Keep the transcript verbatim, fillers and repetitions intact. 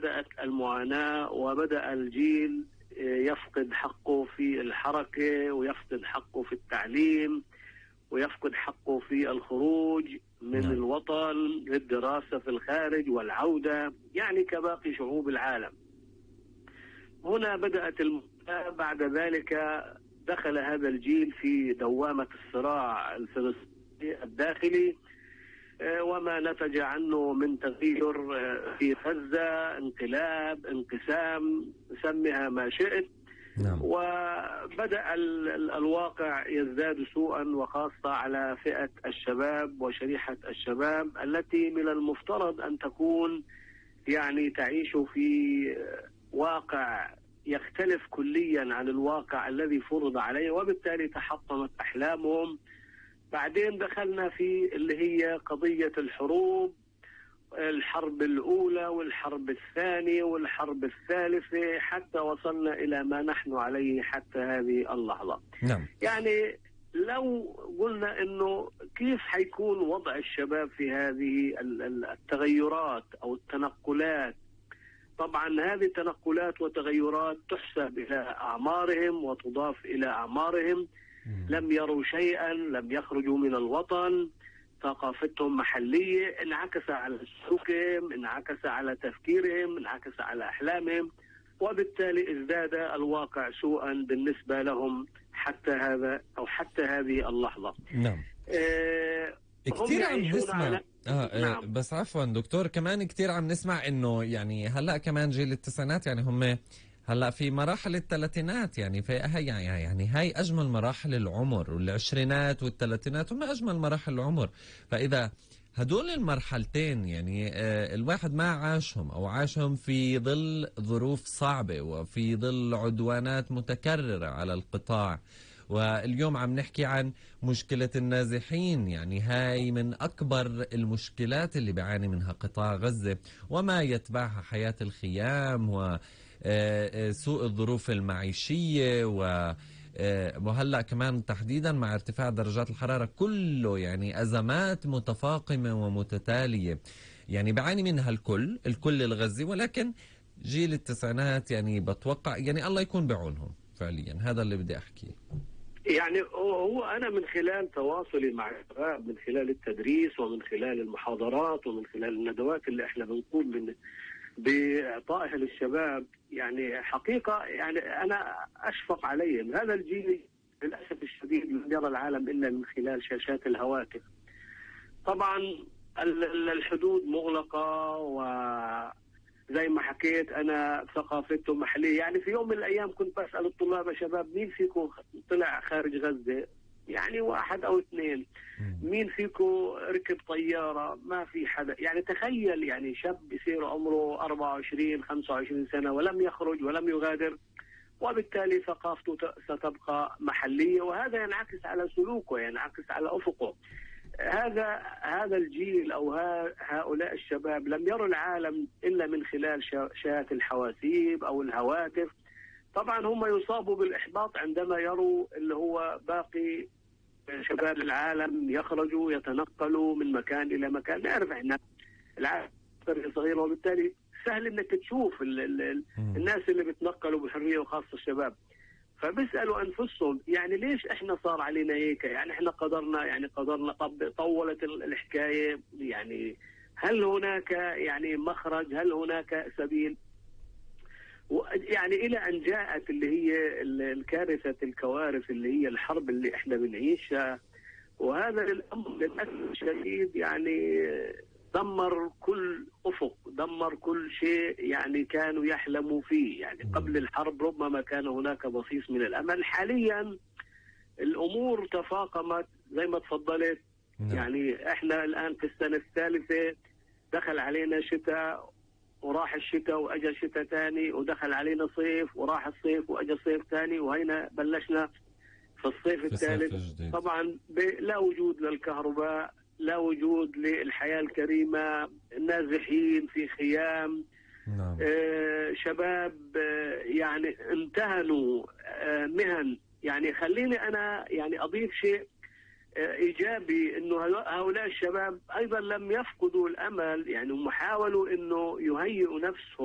بدأت المعاناة، وبدأ الجيل يفقد حقه في الحركة، ويفقد حقه في التعليم، ويفقد حقه في الخروج من نعم. الوطن للدراسة في الخارج والعودة، يعني كباقي شعوب العالم. هنا بدأت المعاناة. بعد ذلك دخل هذا الجيل في دوامة الصراع الفلسطيني الداخلي، وما نتج عنه من تغيير في غزة، انقلاب، انقسام، سميها ما شئت. نعم. وبدأ الواقع يزداد سوءا، وخاصة على فئة الشباب وشريحة الشباب التي من المفترض أن تكون يعني تعيش في واقع يختلف كليا عن الواقع الذي فرض عليه، وبالتالي تحطمت أحلامهم. بعدين دخلنا في اللي هي قضية الحروب، الحرب الأولى والحرب الثانية والحرب الثالثة، حتى وصلنا إلى ما نحن عليه حتى هذه اللحظة. نعم. يعني لو قلنا إنه كيف حيكون وضع الشباب في هذه التغيرات أو التنقلات، طبعا هذه التنقلات وتغيرات تحسب إلى أعمارهم وتضاف إلى أعمارهم. لم يروا شيئا، لم يخرجوا من الوطن، ثقافتهم محلية، انعكس على سلوكهم، انعكس على تفكيرهم، انعكس على أحلامهم، وبالتالي ازداد الواقع سوءا بالنسبة لهم حتى هذا أو حتى هذه اللحظة. نعم. آه كثير عم نسمع على... آه نعم. بس عفوا دكتور، كمان كثير عم نسمع انه يعني هلا كمان جيل التسعينات يعني هم هلا في مراحل الثلاثينات، يعني في هي يعني هاي اجمل مراحل العمر، والعشرينات والثلاثينات هم اجمل مراحل العمر. فاذا هدول المرحلتين يعني آه الواحد ما عاشهم او عاشهم في ظل ظروف صعبة وفي ظل عدوانات متكررة على القطاع، واليوم عم نحكي عن مشكلة النازحين، يعني هاي من أكبر المشكلات اللي بيعاني منها قطاع غزة وما يتبعها حياة الخيام وسوء الظروف المعيشية، وهلأ كمان تحديدا مع ارتفاع درجات الحرارة، كله يعني أزمات متفاقمة ومتتالية يعني بعاني منها الكل الكل الغزي. ولكن جيل التسعينات يعني بتوقع يعني الله يكون بعونهم فعليا، هذا اللي بدي أحكيه. يعني هو أنا من خلال تواصلي مع الشباب، من خلال التدريس ومن خلال المحاضرات ومن خلال الندوات اللي احنا بنقوم من بإعطائها للشباب، يعني حقيقة يعني أنا أشفق عليهم. هذا الجيل للأسف الشديد لم يرى العالم إلا من خلال شاشات الهواتف. طبعا الحدود مغلقة، و زي ما حكيت أنا ثقافته محلية. يعني في يوم من الأيام كنت بسأل الطلاب: شباب مين فيكم طلع خارج غزة؟ يعني واحد أو اثنين. مين فيكم ركب طيارة؟ ما في حدا. يعني تخيل يعني شاب يصير عمره أربعة وعشرين خمسة وعشرين سنة ولم يخرج ولم يغادر، وبالتالي ثقافته ستبقى محلية، وهذا ينعكس على سلوكه، ينعكس على أفقه. هذا هذا الجيل أو هؤلاء الشباب لم يروا العالم إلا من خلال شاشات الحواسيب أو الهواتف. طبعا هم يصابوا بالإحباط عندما يروا اللي هو باقي شباب العالم يخرجوا يتنقلوا من مكان إلى مكان. نعرف إحنا العالم صغير، وبالتالي سهل إنك تشوف ال ال الناس اللي بتنقلوا بحرية، وخاصة الشباب. فبيسألوا أنفسهم يعني ليش إحنا صار علينا هيك؟ يعني إحنا قدرنا يعني قدرنا طب طولت الحكاية. يعني هل هناك يعني مخرج؟ هل هناك سبيل؟ يعني إلى أن جاءت اللي هي الكارثة الكوارث اللي هي الحرب اللي إحنا بنعيشها. وهذا الأمر للأسف الشديد يعني دمر كل أفق، دمر كل شيء يعني كانوا يحلموا فيه. يعني قبل الحرب ربما كان هناك بصيص من الأمل. حاليا الأمور تفاقمت زي ما تفضلت. يعني احنا الآن في السنة الثالثة، دخل علينا شتاء وراح الشتاء وأجا شتاء ثاني، ودخل علينا صيف وراح الصيف وأجا صيف ثاني، وهنا بلشنا في الصيف الثالث. طبعا لا وجود للكهرباء، لا وجود للحياة الكريمة، نازحين في خيام. نعم. آه شباب آه يعني امتهنوا آه مهن. يعني خليني أنا يعني أضيف شيء آه إيجابي، إنه هؤلاء الشباب أيضا لم يفقدوا الأمل. يعني هم حاولوا إنه يهيئوا نفسهم